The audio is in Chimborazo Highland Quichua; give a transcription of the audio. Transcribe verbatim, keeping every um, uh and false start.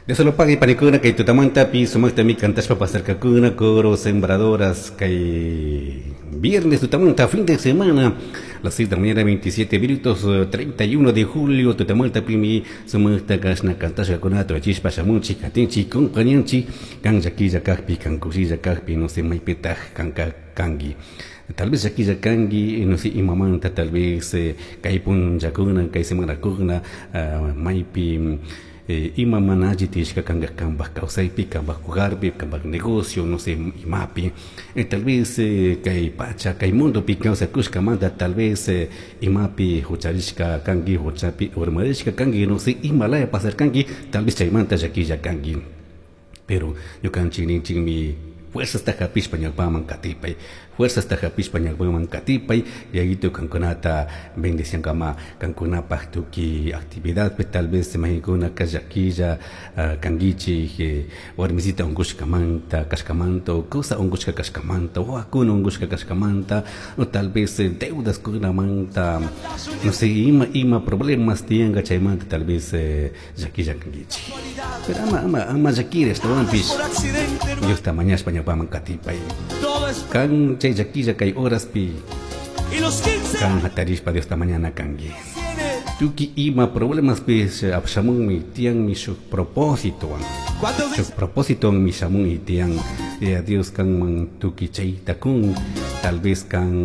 Dios lo pague panikuna kay tutamantapi sumaqtami kantashpa pasarkakuna coro sembradoras kay viernes tutamanta fin de semana las seis de la mañana veintisiete minutos treinta y uno de julio tutamantapimi sumaqta kashna kantashkakuna tuachishpa shamunchik katinchik compañanchik kan llakilla kakpi, kan kushilla kakpi, no sé maypitaq kanka kanki, tal vez llakilla kanki, no sé imamanta, tal vez eh, kay punllakuna, kay semanakuna uh, maypi eh, ima mana alli tiyashka kanka kanpak kawsaypi, kanpak hogarpi, kanpak negocio, no sé imapi, eh, tal vez eh, kay pacha, kay mundopi kawsakushkamanta tal vez eh, imapi hucharishka kanki, huchapi urmarishka kanki, no sé imalaya pasarkanki, tal vez chaymanta llakilla kanki, pero ñukanchik ninchikmi fuerzasta hapishpa ñawpaman katipay, fuerzasta hapishpa ñawpaman katipay. Yayito kankunata bendiciankama kankunapaj tukuy actividadpi. Tal vez maykunaka llakilla uh, kankichik eh, warmisita unkushkamanta kashkamanta o kusa unkushka kashkamanta, wawakuna unkushka kashkamanta o tal vez eh, deudas kunamanta, no sé ima ima problemas tiyanka, chaymanta tal vez eh, llakilla kankichik, pero ama ama ama llakiri, ashtawanpish Por accidente no Diosta mañashpa ñawpaman katipay. Todo es Kan chay llakilla kay horaspi Y los quince kan hatarishpa Diosta mañana kanki. Tiene Tukuy ima problemaspis apshamunmi tiyanmi shuk propósitowan. Cuando Shuk propósitowanmi shamun y tiyan eh, Dios kanman tukuy chayta kun, tal vez kan